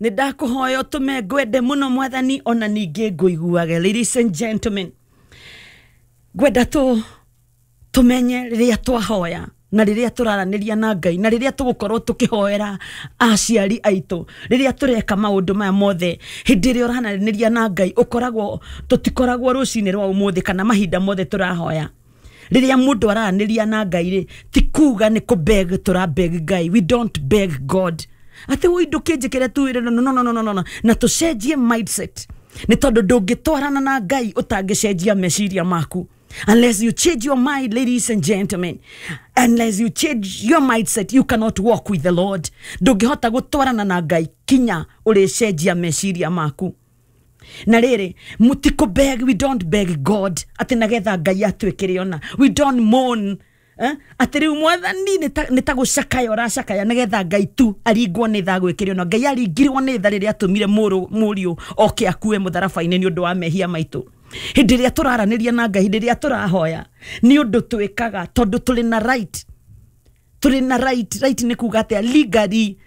Nĩ ndakũhoya ũtũme ngwende mũno, Mwathani, ona ningĩ ngũiguage. Ladies and gentlemen, ngwenda tũmenye rĩrĩa twahoya na rĩrĩa tũraranĩria na Ngai na rĩrĩa tũgũkorwo tũkĩhoera aciari aitũ, rĩrĩa tũreka maũndũ maya mothe, hĩndĩ ĩrĩa ũraranĩria na Ngai, ũkoragwo tũtikoragwo rũcinĩ rwa ũmũthĩ kana mahinda mothe tũrahoya. Rĩrĩa mũndũ araranĩria na Ngai rĩ, ti kuga nĩ kũ beg, tũra beg Ngai. We don't beg God atĩ woi ndũkĩnjĩkĩre tu. No, no, no, no, no, no, no. Na tũcenjie mindset, nĩ tondũ ndũngĩtwarana na Ngai ũtangĩcenjia meciria maku. Unless you change your mind, ladies and gentlemen, unless you change your mindset, you cannot walk with the Lord. Ndũngĩhota gũtwarana na Ngai kinya ũrĩcenjia meciria maku. Na rĩrĩ, mũtikũ beg, we don't beg God atĩ nagetha Ngai atwĩkĩre ona. We don't moan, eh? Atĩ rĩu Mwathani, nĩ ta gũcakaya ũracakaya nĩgetha Ngai tu aringwo nĩ tha gwĩkĩre ona. Ngai aringirwo nĩ tha rĩrĩa atũmire mũriũ oke akue mũtharaba-inĩ nĩ ũndũ wa mehia maitũ. Hĩndĩ ĩrĩa tũraranĩria na Ngai, hĩndĩ ĩrĩa tũrahoya, nĩ ũndũ twĩkaga tondũ tũrĩ na right, tũrĩ na right. Right nĩ kuga atĩa? Legally.